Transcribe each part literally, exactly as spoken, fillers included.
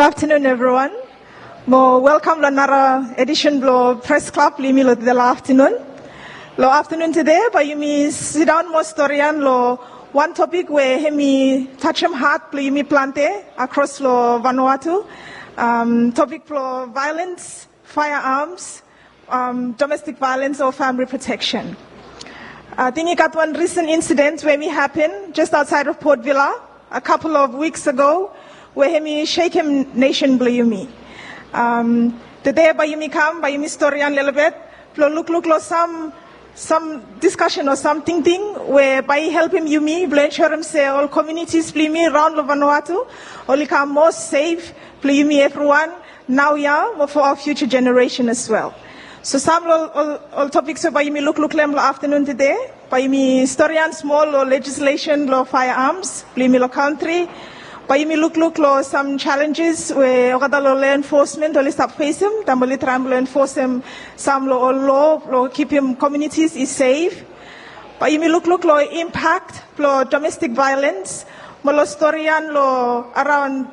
Afternoon, everyone. Mo welkam lo nara edisen blo Pres Klab blo yumi lo tede lo aftenun. Lo aftenun tede bae yumi sidaon mo storian lo wan topik we hemi tajem hat blo yumi plante akros lo Vanuatu. Um, topik blo violence, firearms, um, domestic violence o family protection. Ating i gat wan risen insiden we hemi hapen jes aotsaed of Port Vila a couple of weeks ago, we hemi sekem nesen blo yumi. Um, tede bae yumi kam, bae yumi storian lelebet blo lukluk lo sam, sam diskasen o sam tingting we bae i helpem yumi blo ensurem se ol komunitis blo yumi raon lo Vanuatu oli kam moa sef blo yumi evriwan naoia mo for our future generation as well. So sam lo ol, ol topiks we bae yumi lukluk lo hem lo aftenun tede, bae yumi storian smol lo legislation blo firearms blo yumi lo kantri. Bae yumi lukluk lo sam challenges we olgeta lo law enforcement oli stap fesem taem oli traem blo enfosem sam lo ol loa blo kipim komunitis i sef. Bae yumi lukluk lo impact blo domestic violence mo lo storian lo araon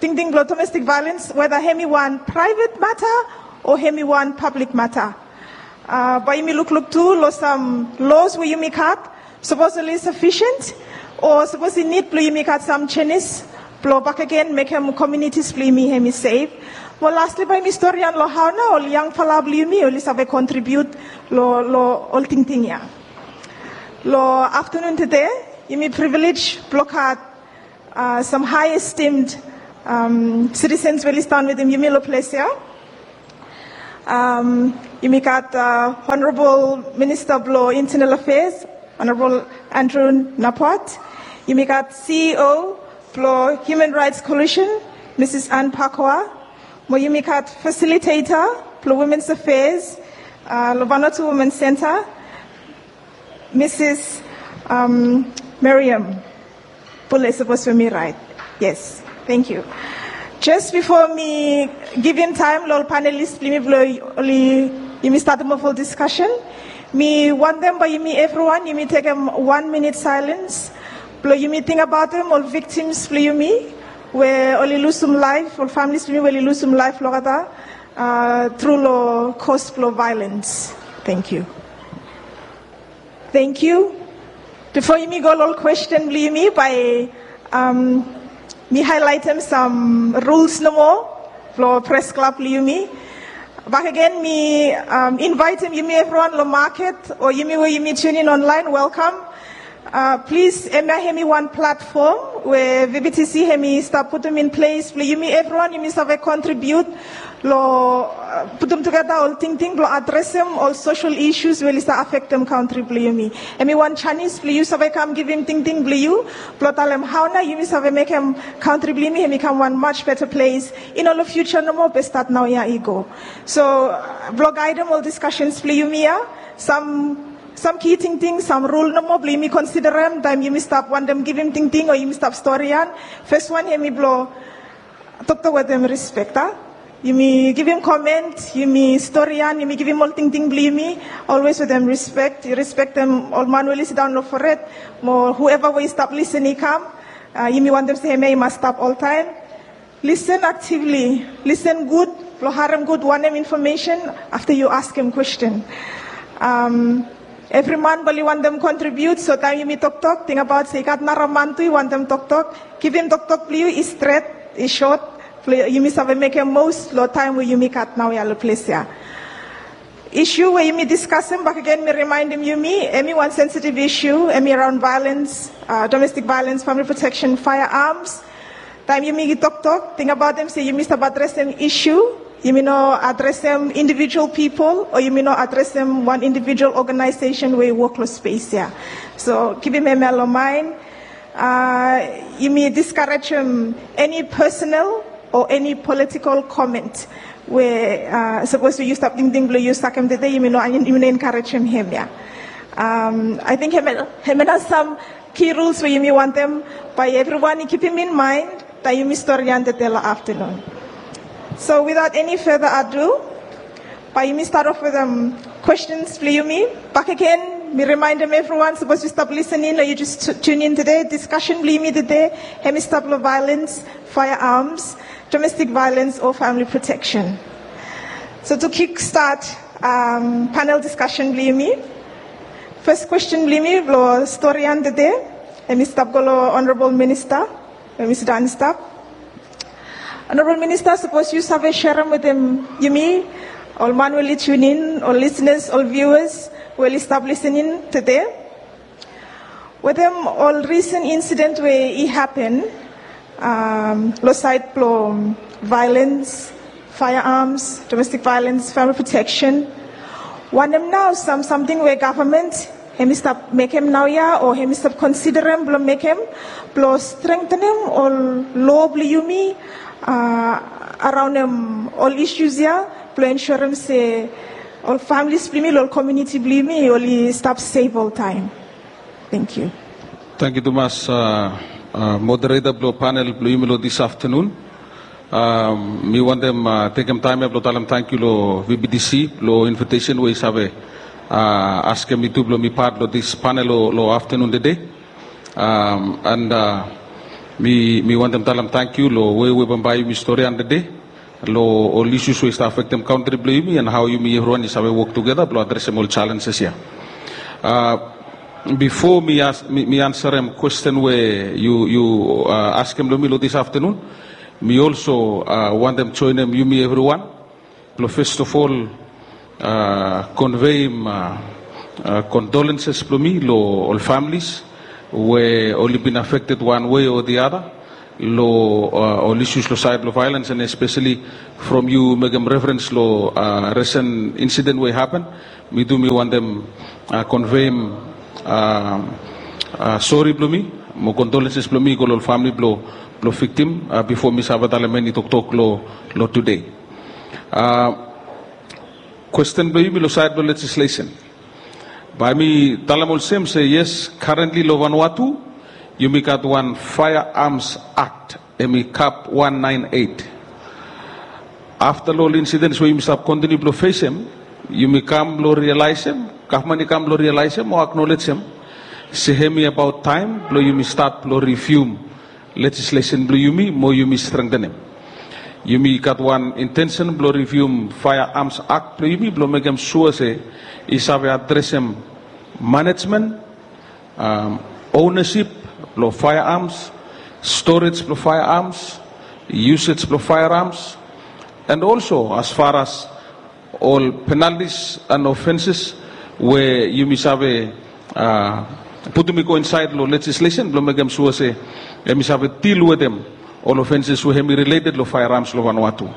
tingting blo domestic violence, whether hemi wan private matter o hemi wan public matter. Uh, bae yumi lukluk tu lo sam laws we yumi gat, sapos oli sufficient o sapos i nid blo yumi gat sam jenis blo bakegen mekem komunitis blo yumi hemi sef. Mo lastly bae yumi storian lo hao nao ol yangfala blo yumi oli save kontribiut lo, lo ol tingting ya. Lo aftenun tede yumi privilege blo gat uh, sam high esteemed, um, citizens we oli stap wetem yumi lo ples ya. Um, yumi gat, uh, Honorable Minister blo Internal Affairs, Honorable Andrew Napuat. Yumi gat C E O blo Human Rights Coalition, Mrs Anne Pakwa. Mo yumi gat facilitator blo Women's Affairs, uh, lo Vanuatu Women's Centre, Mrs, um, Miriam Pule, sapos we mi raet. Yes, thank you. Jes bifo mi givim taem lo ol panelis blo yumi blo oli, yumi statem of ol diskasen, mi wantem bae yumi evriwan yumi tekem wan minit silence blo yumi tingbaotem ol victims blo yumi we oli lusum laef, ol families blo yumi we oli lusum laef lo olgeta, uh, tru lo kos blo violence. Thank you. Thank you. Bifo yumi go lo ol kwesten blo yumi, bae, um, mi haelaetem sam rules nomo blo Pres Klab blo yumi. Bakegen mi, um, invaetem yumi evriwan lo maket o yumi we yumi tune in online, welkam. Uh, plis, hemia hemi wan platfom we V B T C hemi stap putum in ples blo yumi evriwan yumi save kontribiut lo, uh, putum tugeta ol tingting blo adresem ol social issues we oli stap afektem kantri blo yumi. Hemi wan janis blo yu save kam givim tingting blo yu blo talem hao nao yumi save mekem kantri blo yumi hemi kam wan much better place. I no lo future nomo be stat naoia i go. So, uh, blo gaedem ol diskasens blo yumi ya, sam, sam ki tingting, sam rul nomo blo yumi konsiderem taem yumi stap wantem givim tingting o yumi stap storian. Fes wan hemi blo toktok wetem rispek, a? Yumi givim komen, yumi storian, yumi givim ol tingting blo yumi, always wetem rispek. Yu rispektem ol man we oli sidaon lo fored mo whoever we i stap lisen i kam. Uh, yumi wantem se hemia i mas stap oltaem. Listen actively, listen gud, blo harem gud wanem infomesen afta yu askem kwesten. Um, evri man bae oli wantem kontribiut, so taem yumi toktok, tingbaot se i gat nara man tu i wantem toktok. Givim toktok blo yu i stret, i sot, blo yumi save mekem mos lo taem we yumi gat naoia lo ples ya. Isu we yumi diskasem, bakegen mi rimaendem yumi, hemi wan sensitive isu, hemi araon violence, uh, domestic violence, family protection, firearms. Taem yumi toktok, tingbaotem se yumi stap adresem isu, yumi no adresem individual pipol o yumi no adresem wan individual oganaesesen we i wok lo spes ya. So givim hemia lo maen. Uh, yumi diskarejem eni personal o eni politikol komen we, uh, sapos we yu stap tingting blo yu sakem tede, yumi no, yumi no enkarejem hemia. Um, ating hemia, hemia nao sam ki ruls we yumi wantem bae evriwan i kipim in maen taem yumi storian tede lo aftenun. So without any further ado, bae yumi stat of wetem, um, kwestens blo yumi. Bakegen Mi rimaendem evriwan, sapos yu stap lisening o yu jes tune in tede, diskasen blong yumi tede hemi stap long violens, firearms, domestik violens o famili proteksen. So to kikstat panel diskasen blong yumi, fes kwesten blong yumi blong storian tede hemi stap go long Honorabol Minista we hemi sidaon i stap. Honorabol Minista, sapos yu save serem wetem yumi, ol man we oli tune in, ol lisenas, ol viuas we oli stap lisening tede, wetem ol risen insiden we i hapen long saed blong violens, firearms, domestik violens, famili proteksen, wanem nao sam samting we gavman hemi stap mekem naoia o hemi stap konsiderem blong mekem blong strengtenem ol loa blong yumi araonem ol isus ya blong ensurem se ol familis blong yumi long ol komuniti blong yumi oli stap sef oltaem? Tangkiu. Tangkiu tumas, modereta blong panel blong yumi long dis aftanun. Mi wantem tekem taem ya blong talem tangkiu long V B T C blong invitesen we i save askem mi tu blong mi pat long dis panel long aftanun tede. And mi wantem talem tangkiu long we we bambae yumi storian tede long ol isus we i stap afektem kantri blong yumi and hao yumi evriwan i save wok tugeta blong adresem ol jalenjes ya. Bifo mi ansarem kwesten we yu askem long mi long dis aftanun, mi olso wantem joenem yumi evriwan blong fes of ol konveim kondolenses blong mi long ol familis we oli bin afekted wan wei o the other long ol isus long saed blong violens, and espeseli from yu mekem referens long resen insiden we i hapen, mi tu mi wantem konveim sori blong mi mo kondolenses blong mi i go long ol famili blong viktim bifo mi save talem eni toktok long tude. Kwesten blong yumi long saed blong lejislesen, bae mi talem olsem se yes, karentli long Vanuatu yumi gat wan Firearms Act, hemi kap wan naen eit. Afta long ol insidens we yumi stap kontiniu blong fesem, yumi kam blong rialaesem, gavman i kam blong rialaesem o aknolejem se hemi abaot taem blong yumi stat blong rivium lejislesen blong yumi mo yumi strengtenem. Yumi gat wan intensen blong rivium Firearms Act blong yumi blong mekem sua se i save adresem manejmen, ownasip blong firearms, storej blong firearms, yusej blong firearms, and also as far as ol penaltis and ofenses we yumi save putum i go insaed long lejislesen blong mekem sua se hemi save dil wetem ol ofenses we hemi rileted long firearms long Vanuatu.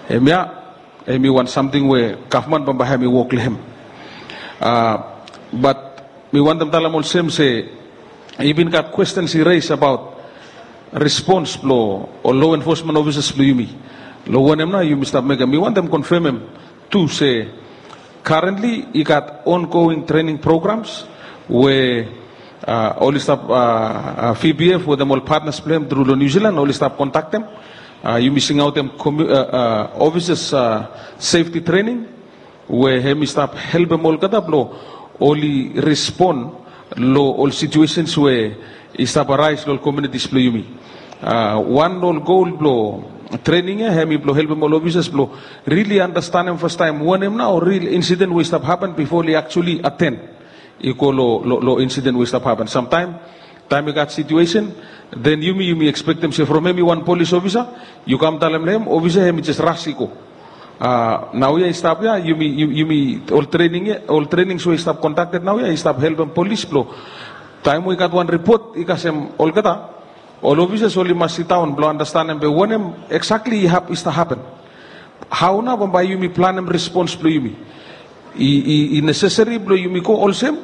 Hemia hemi wan samting we gavman bambae hemi wok long hem. Bat mi wantem talem olsem se i bin gat kwestens i res abaot respons blong ol loa enfosmen ofises blong yumi long wanem nao yumi stap mekem. Mi wantem konfemem tu se karentli i gat ongoing trening programs we oli stap, V B F wetem ol patnas blong hem tru long Niu Silan oli stap kontaktem. Yumi singaotem ofises sefti trening we hemi stap helpem olgeta blong oli respon long ol situesens we i stap araes long ol komunitis blong yumi. Wan long ol gol blong trening ya hemi blong helpem ol ofises blong rili anastenem fastaem wanem nao ril insiden we i stap hapen bifo oli aktuali aten i go long insiden we i stap hapen. Samtaem taem i gat situesen, den yumi yumi ekspektem se from hemi wan polis ofisa yu kam talem long hem, ofisa hemi jes ras i go. Naoia i stap ya yumi ol trenings we i stap kondakted naoia i stap helpem polis blong taem we i gat wan ripot i kasem olgeta, ol ofises oli mas sidaon blong anastenem be wanem eksakli i hap i stap hapen. Hao nao bambae yumi planem respons blong yumi? I nesesari blong yumi go olsem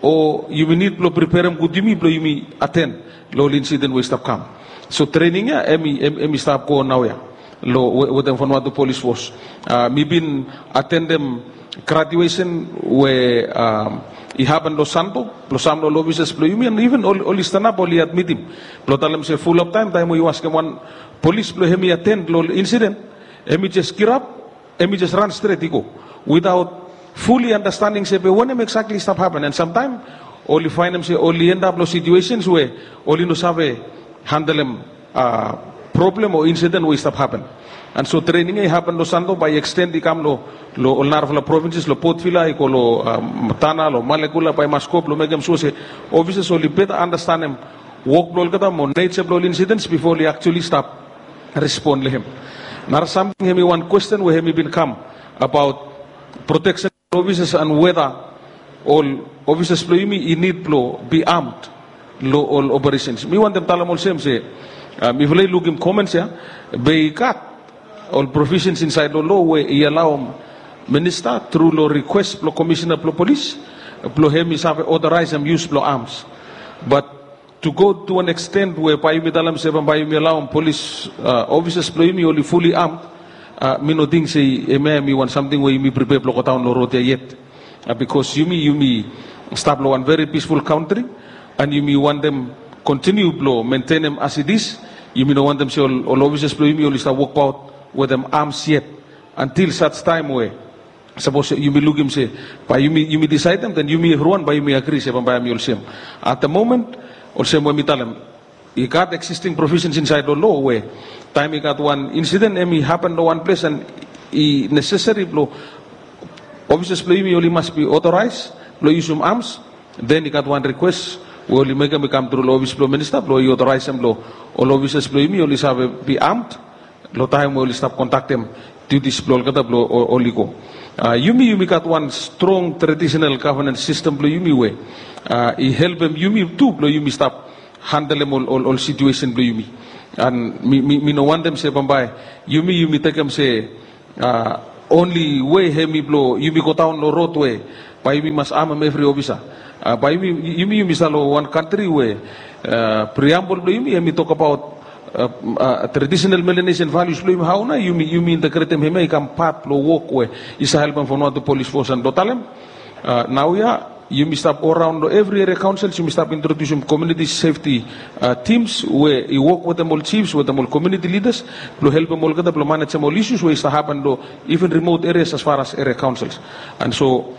o yumi nid blong priperem gud yumi blong yumi aten long ol insiden we i stap kam? So trening ya hemi stap go naoia wetem Vanuatu Polis Fos. Mi bin atendem gradiuesen we i hapen long Santo blong sam long ol ofises blong yumi and iven oli stanap oli admitim blong talem se fulap taem taem we yu askem wan polis blong hemi aten long ol insiden, hemi jes girap, hemi jes ran stret i go witaot fully understanding se be wanem exactly i stap happen. And samtaem oli faenem se oli endap long situations we oli no save handlem problem o incident we i stap happen. And so training ya i happen long Santo, bae i extend i kam long ol narafala provinces, long Port Vila, i go long Tanna, long Malekula, bae i mas go blong mekem sua se officers oli better understandem wok blong olgeta mo nature blong ol incidents before oli actually stap respond long hem. Nara samting, hemi wan question we hemi bin kam about protection officers and whether ol officers blong yumi i nid blong be armed long ol operations. Mi wantem talem olsem se mifala i lukim comments ya, be i gat ol provisions insaed long law we i alaoem minista tru long request blong komisina blong polis blong hem i save authorizeem use blong arms. But to go to an extent we bae yumi talem se bambae yumi alaoem polis officers blong yumi oli fully armed, mi no ting se hemia hemi wan samting we yumi prepare blong godaon long rod ya yet. Bikos yumi, yumi stap long wan very peaceful country, and yumi wantem continue blong maintainem as it is. Yumi no wantem se ol officers blong yumi oli stap wokbaot wetem arms yet, until such time we sapos yumi lukim se bae yumi, yumi desaedem, then yumi evriwan bae yumi agri se bambae hemi olsem. At the moment, olsem we mi talem, i gat existing provisions insaed long law we taem i gat wan incident hemi hapen long wan ples and i necessary blong officers blong yumi oli mas be authorized blong yusum arms, then i gat wan request we oli mekem i kam tru long office blong minista blong i authorizeem blong ol officers blong yumi oli save be armed long taem we oli stap kondaktem duties blong olgeta blong oli go. Yumi, yumi gat wan strong traditional governance system blong yumi we i helpem yumi tu blong yumi stap handlem ol, ol situation blong yumi. And mi, mi, mi no wantem se bambae yumi, yumi tekem se only way hemi blong yumi godaon long rod we bae yumi mas armem evri officer. Bae yumi, yumi, yumi stap long wan kantri we preamble blong yumi hemi tokbaot traditional Melanesian values blong yumi, hao nao yumi, yumi integretem hemia i kam pat blong wok we i save helpem Vanuatu Police Force. And blong talem naoia yumi stap go raon long evri area councils, yumi stap introdiusim community safety teams we i wok wetem ol chiefs, wetem ol community leaders blong helpem olgeta blong manejem ol issues we i stap hapen long even remote areas as far as area councils. And so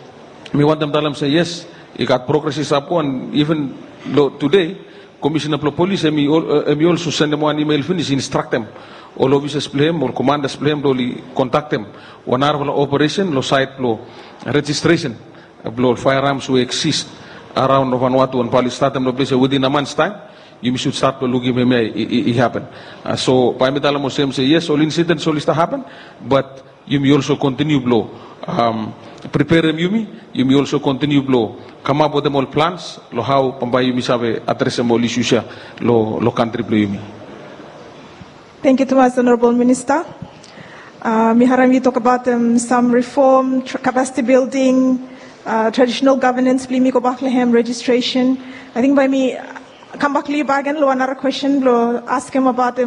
mi wantem talem se yes, i gat progress i stap go, and even long tude, komisina blong polis hemi olso sendem wan email finis instraktem ol officers blong hem, ol commanders blong hem blong oli kondaktem wan narafala operation long saed blong registration blong ol firearms we exist araon long Vanuatu, and bae oli statem long ples ya within a month's time. Yumi should stat blong lukim hemia i hapen. So bae mi talem olsem se yes, ol incidents oli stap hapen, but yumi olso kontiniu blong preperem yumi, yumi olso kontiniu blong kamap wetem ol plans long hao bambae yumi save adresem ol issues ya long kantri blong yumi. Tangkiu tumas, Honorable Minister. Mi harem yu tokbaot sam reform, capacity building, traditional governance blong yumi, gobak long hem, registration. Ating bae mi kambak long yu bakegen long wan nara kwestin blong askem abaot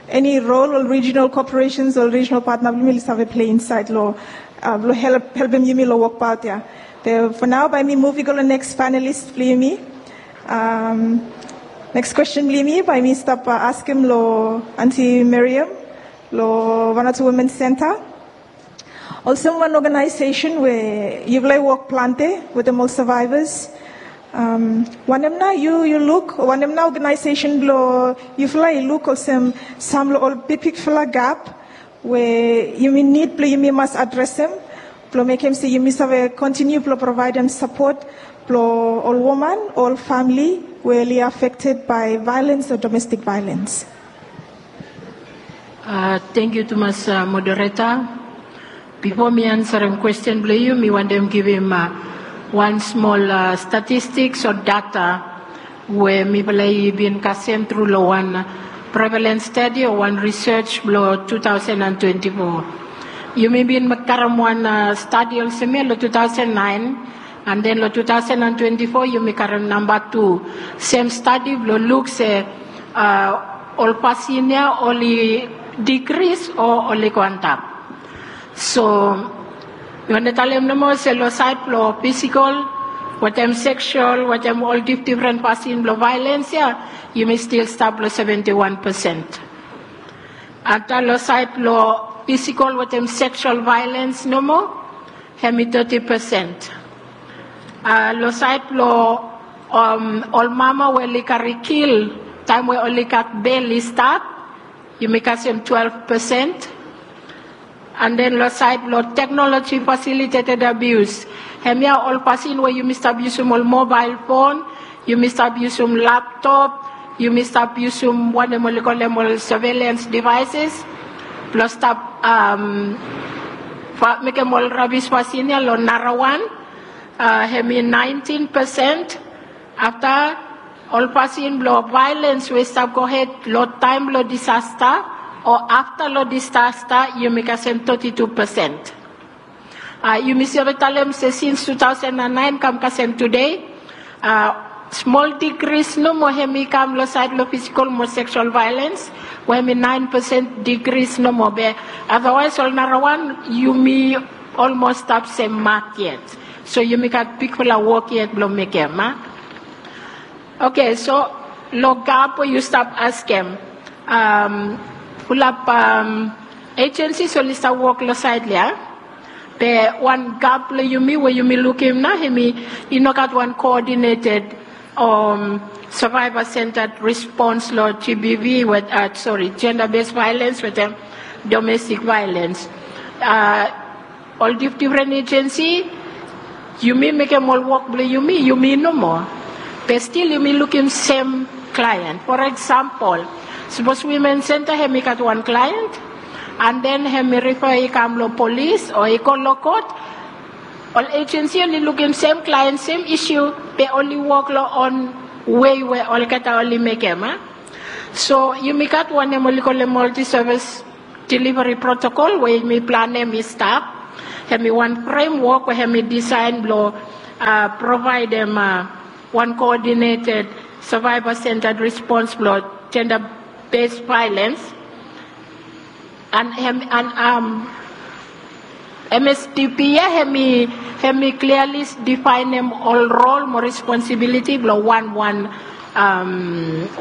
eni rol ol regional corporations, ol regional partner blong yumi oli save plei insaed long blong helpem yumi long wokbaot ya. Be fo nao bae mi muv i go long neks panelist blong yumi. Neks kwestin blong yumi bae mi stap askem long Aunty Miriam long Vanuatu Women Centre. Olsem wan organization we yufala i wok plante wetem ol survivors, wanem nao yu, yu luk, wanem nao organization blong yufala i luk olsem sam long ol bigbigfala gap we yumi nid blong yumi mas adresem blong mekem se yumi save kontiniu blong provaedem sapot blong ol woman, ol famili we oli affected by violence o domestic violence? Tangkiu tumas, moderator. Bifo mi ansarem kwestin blong yu, mi wantem givim wan smol statistiks o data we mifala i bin kasem tru long wan prevalence study o wan research blong two thousand and twenty-four. Yumi bin karem wan study olsem ya long two thousand nine, and then long two thousand and twenty-four yumi karem namba tu sem study blong luk se ol pasin ya oli decrease o oli go antap. So mi wantem talem nomo se long saed blong physical wetem sexual wetem ol difdifren pasin blong violence ya, yumi stil stap long seventy-one percent. Afta long saed blong physical wetem sexual violence nomo, Hemi toti pesen. Long saed blong ol mama we oli kari kil taem we oli gat bel i stap, yumi kasem twelef pesen. And then long saed blong teknoloji fasiliteted abius, hemia ol fasin we yumi stap yusum ol mobael fon, yumi stap yusum laptop, yumi stap yusum wanem oli kolem ol surveillance devices blong stap mekem ol rabis fasin ya long narawan. Hemi naentin pesen. Afta ol fasin blong vaelens we i stap gohed long taem blong disasta o afta long disasta, yumi kasem toti tu pesen. Yumi save talem se sins tu taosen and naen kam kasem tude, smol digris nomo hemi kam long saed long fisikol mo seksual vaelens, we hemi naen pesen digris nomo, be adawaes ol narawan yumi olmos stap sem mak yet. So yumi gat bigfala wok yet blong mekem, a? Oke, so long gap we yu stap askem, fulap ejensis oli stap wok long saed ya. Be wan gap blong yumi we yumi lukim nao, hemi i no gat wan koodineted survivor centered response long G B V, we, sori, gender based violence wetem domestic violence. Ol difdifren ejensi, yumi mekem ol wok blong yumi, yumi nomo. Be stil yumi lukim sem klaen. For eksempel, sapos Women Center hemi gat wan klaen, and then hemi rifa i kam long polis o i go long kot, ol ejensi oli lukim sem klaen, sem isu, be oli wok long on wei we olgeta oli mekem, a? So yumi gat wanem oli kolem multi service delivery protokol we yumi planem i stap. Hemi wan fremwok we hemi disaen blong provaedem wan koodineted survivor centered response blong gender based violence. And hemi, and M S D P ya hemi, hemi kliali difaenem ol rol mo responsibiliti blong wanwan,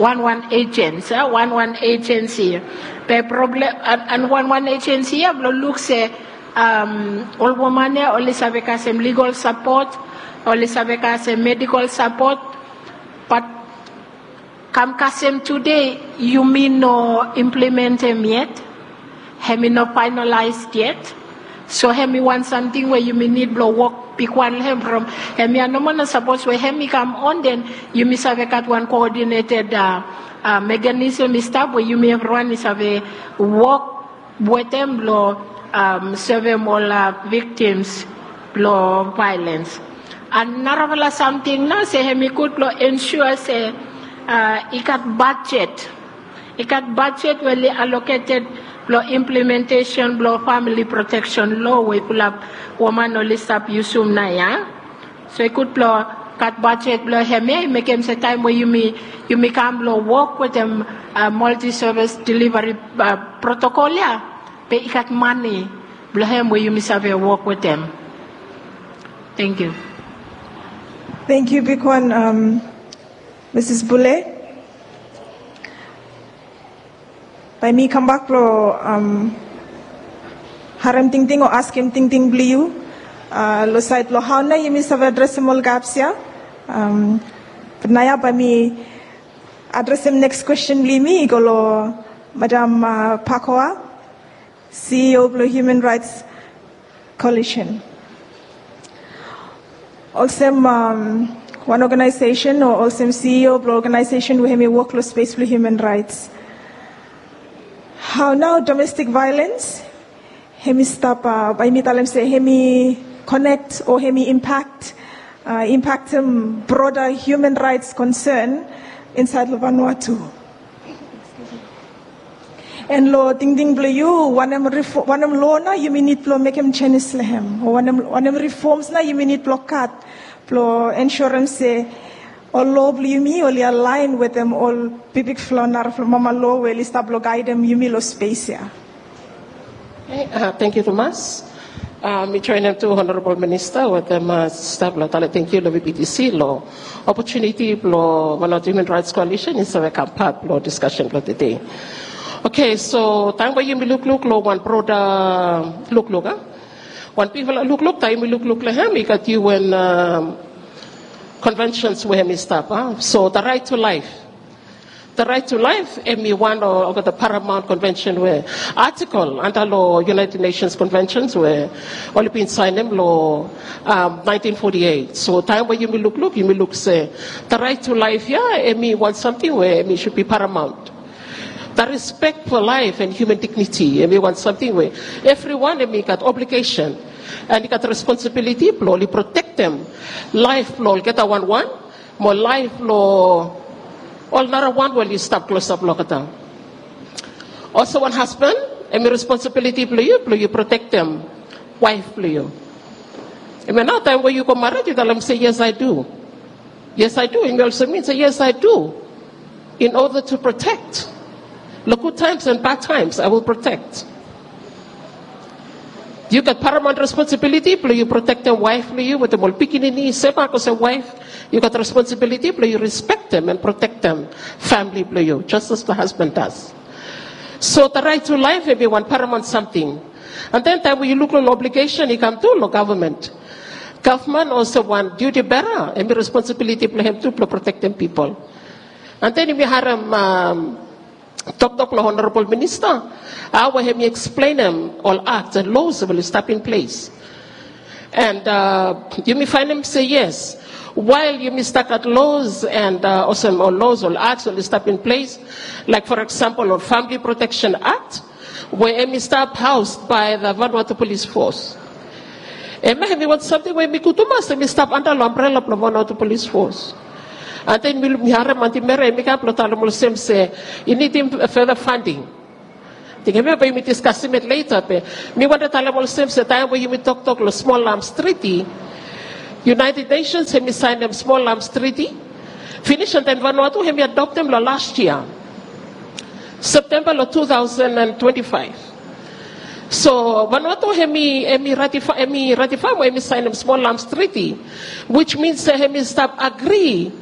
wanwan ejensi, wanwan ejensi. Be problem, and wanwan ejensi ya blong luk se ol woman ya oli save kasem ligol sapot, oli save kasem medikol sapot, bat kam kasem tude yumi no implimentem yet. Hemi no faenalaes yet. So hemi wan samting we yumi nid blong wok bigwan long hem from hemia nomo. Na sapos we hemi kam on, den yumi save gat wan koodineted mekanisem i stap we yumi evriwan i save wok wetem blong sevem ol viktims blong vaelens. And narafala samting nao se hemi gud blong ensua se i gat bajet, i gat bajet we oli aloketed blong implimentesen blong famili proteksen loa we fulap woman oli stap yusum nao ya. So i gud blong gat bajet blong hemia i mekem se taem we yumi, yumi kam blong wok wetem multi service delivery protokol ya, be i gat mane blong hem we yumi save wok wetem. Tangkiu. Tangkiu bigwan, Misis Bule. Bae mi kambak blong harem tingting o askem tingting blong yu long saed blong hao nao yumi save adresem ol gaps ya. Bat naoia bae mi adresem neks kwesten blong yumi i go long Madam Pakoa, C E O blong Human Rights Coalition. Olsem wan oganaesesen o olsem C E O blong oganaesesen we hemi wok long spes blong human raets, hao nao domestik vaelens hemi stap, bae mi talem se hemi konek o hemi impak, impaktem broda human raets konsen insaed long Vanuatu? And long tingting blong yu, wanem loa nao yumi nid blong mekem jenis long hem, o wanem rifom nao yumi nid blong gat blong ensurem se ol loa blong yumi oli alaen wetem ol bigbigfala narafala mama loa we oli stap blong gaedem yumi long spes ya? Tangkiu tumas. Mi joenem tu Honorabol Minista wetem staf blong talem tangkiu long V B T C long opotuniti blong Vanuatu Human Rights Coalition i save kam pat blong diskasen blong tede. Oke, so taem we yumi lukluk long wan broda lukluk, a, Wan bigfala lukluk, taem yumi lukluk long hem, i gat UN, um, conventions we hemi stap, a? So the right to life. The right to life hemi wan long olgeta paramount convention we, article anda long United Nations Conventions we oli bin saenem long, um, nineteen forty-eight. So taem we yumi lukluk, yumi luk se the right to life ia hemi wan samting we hemi should be paramount. The respect for life and human dignity hemi wan samting we evriwan hemi gat obligation and i gat responsibility blong oli protektem laef blong olgeta wanwan, mo laef blong ol narawan we oli stap klosap long olgeta. Olsem wan hasban, hemi responsibility blong yu blong yu protektem waef blong yu. Hemia nao taem we yu go mared, yu talem se, "Yes, I do. Yes, I do." Hemi olsem min se, "Yes, I do. In order to protect. Long good times and bad times, I will protect." Yu gat paramount responsibility blong yu protektem waef blong yu wetem ol pikinini, semak olsem waef. Yu gat responsibility blong yu respektem and protektem famili blong yu, just as the husband does. So the right to life hemi wan paramount samting. And then taem we yu luk long obligation i kam tu long gavman. Gavman olsem wan duty bearer, hemi responsibility blong hem tu blong protektem pipol. And then yumi harem, um, toktok long Honorable Minister, hao we hemi eksplenem ol acts and laws we oli stap in place. And, uh, yumi faenem se yes, wael yumi stap gat laws and, uh, olsem ol laws, ol acts we oli stap in place, like for example ol Family Protection Act, we hemi stap housed by the Vanuatu Police Force. Hemia hemi wan samting we hemi gud tumas, hemi stap anda long ambrela blong Vanuatu Police Force. And then mi, mi harem Anti Mary hemi kam blong talem olsem se i nidim further funding. Ating hemia bae yumi diskasim it later, be mi wantem talem olsem se taem we yumi toktok long Small Arms Treaty, United Nations hemi saenem Small Arms Treaty finis, and then Vanuatu hemi adoptem long last year, September long two thousand and twenty-five. So Vanuatu hemi, hemi ratify, hemi ratify mo hemi saenem Small Arms Treaty, which means se hemi stap agri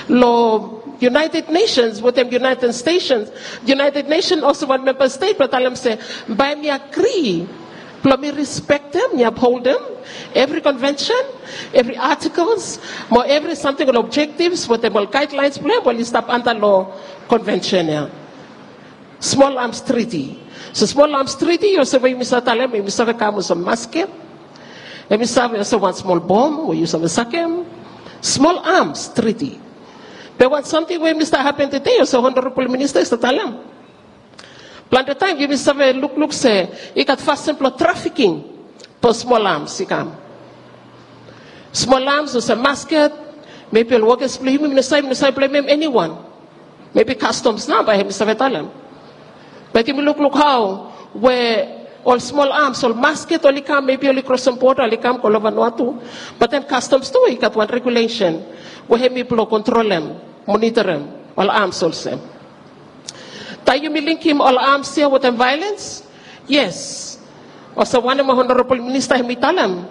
long United Nations wetem United Stations. United Nations olsem wan member state blong talem se bae mi agri blong mi respektem, mi upholdem evri convention, evri articles, mo evri samting, ol objectives wetem ol guidelines blong hem we oli stap anda long convention ia. Small Arms Treaty. So Small Arms Treaty, olsem we yumi save talem, yumi save kam olsem musket. Hemi save olsem wan smol bom we yu save sakem. Small Arms Treaty. Be wan samting we hemi stap hapen tede, olsem Honorable Minister i stap talem, plante taem yumi save lukluk se i gat fasin blong trafficking blong smol arms i kam. Smol arms olsem musket, maybe ol workers blong yumi, mi no save, mi no save blamem eniwan. Maybe customs nao bae hemi save talem. Be yumi lukluk hao we ol smol arms, ol musket oli kam, maybe oli krosem border, oli kam go long Vanuatu. But then customs tu i gat wan regulation we hemi blong kontrolem, monitorem ol arms olsem. Taem yumi linkem ol arms ia wetem violence, yes. Olsem wanem we Honorable Minister hemi talem,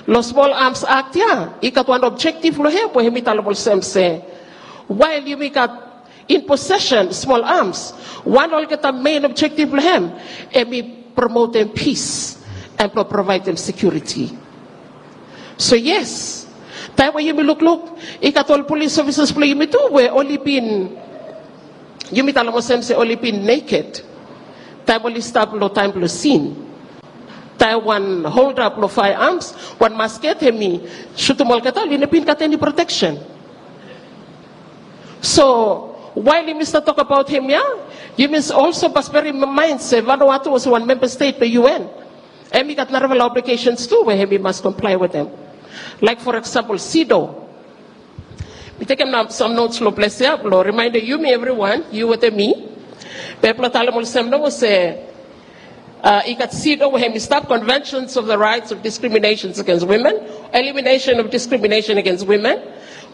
long Small Arms Act ia i gat wan objective long hem we hemi talem olsem se wael yumi gat in possession smol arms, wan olgeta main objective blong hem hemi promotem peace and blong provaedem security. So yes, taem we yumi lukluk, i gat ol police officers blong yumi tu we oli bin, yumi talem olsem se oli bin naked taem oli stap long taem blong scene. Taem wan holder blong firearms, wan musket, hemi sutum olgeta, oli no bin gat eni protection. So wael yumi stap tokbaot hemia, yumi also mas bearim mind se Vanuatu olsem wan member state blong UN, hemi gat narafala obligations tu we hemi mas comply wetem. Like for example, CEDAW. Mi tekem nao sam notes long ples ia blong remindem yumi evriwan, yu wetem mi. Be blong talem olsem nao se, uh, i gat CEDAW we hemi stap, Conventions of the Rights of Discriminations Against Women, Elimination of Discrimination Against Women,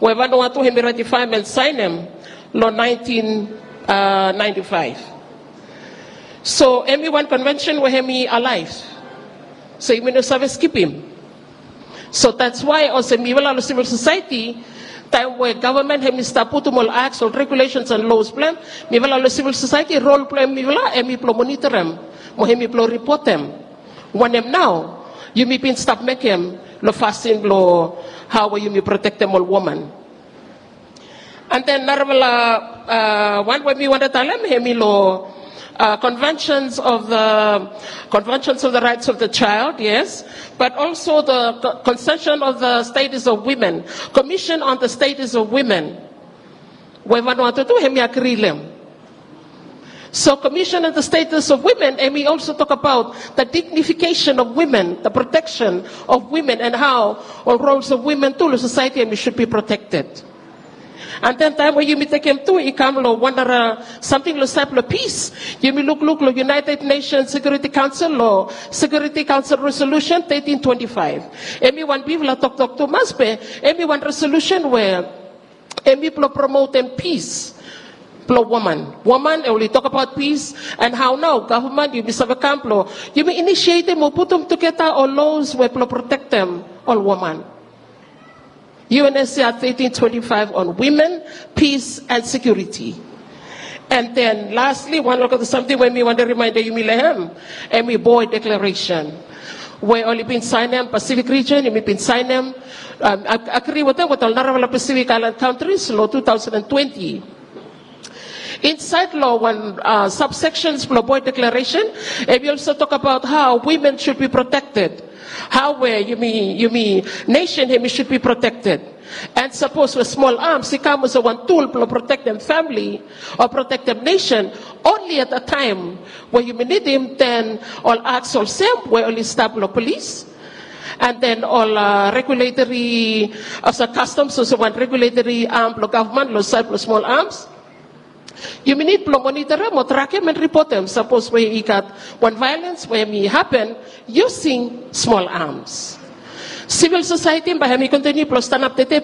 we Vanuatu hemi ratifaem and saenem long nineteen ninety-five. So hemi wan convention we hemi alive. So yumi no save skipim. So that's why olsem mifala long civil society, taem we gavman hemi stap putum ol acts, ol regulations and laws blong hem, mifala long civil society, rol blong mifala hemi blong monitorem mo hemi blong ripotem wanem nao Yumi bin stap mekem lo fasin blo hao we yumi protektem ol woman. And then narafala wan we mi wantem talem hemi lo conventions of the conventions of the rights of the child, yes, but also the convention of the status of women, commission on the status of women. We Vanuatu tu hemi agri lem. So commission on the status of women, and we also talk about the dignification of women, the protection of women, and how all roles of women tu lo society and we should be protected. And then taem we yumi tekem tu i kam lo wan nara samting lo saed blo pis. Yumi lukluk lo United Nations Security Council lo Security Council Resolution thirteen twenty-five. Hemi wan bigfala toktok tumas be hemi wan resolution we hemi blo promotem pis blo woman. Woman oli tokbaot pis, and hao nao gavman yumi save kam blo yumi inisietem o putum tugeta ol laws we blo protektem ol woman. U N S C R thirteen twenty-five on women, peace and security. And then lastly, wan olgeta samting we mi wantem rimaendem yumi lo hem, hemi Boe Declaration we oli bin saenem, Pacific region yumi bin saenem. Agri wetem wet ol narafala Pacific Island countries lo two thousand and twenty. Insaed lo wan subsections blo Boe Declaration, hemi also talk about how women should be protected. Hao we yumi, yumi nation hemi should be protected. And sapos we small arms i kam olsem wan tool blo protektem family o protektem nation, only at a time we yumi nidim, then ol acts olsem we oli stap lo polis, and then ol regulatory, olsem customs olsem wan regulatory arm blo gavman lo saed blo small arms. Yumi nid blo monitorem o trakem and ripotem sapos we i gat wan violence we hemi hapen using small arms. Civil society bae hemi kontiniu blo stanap tede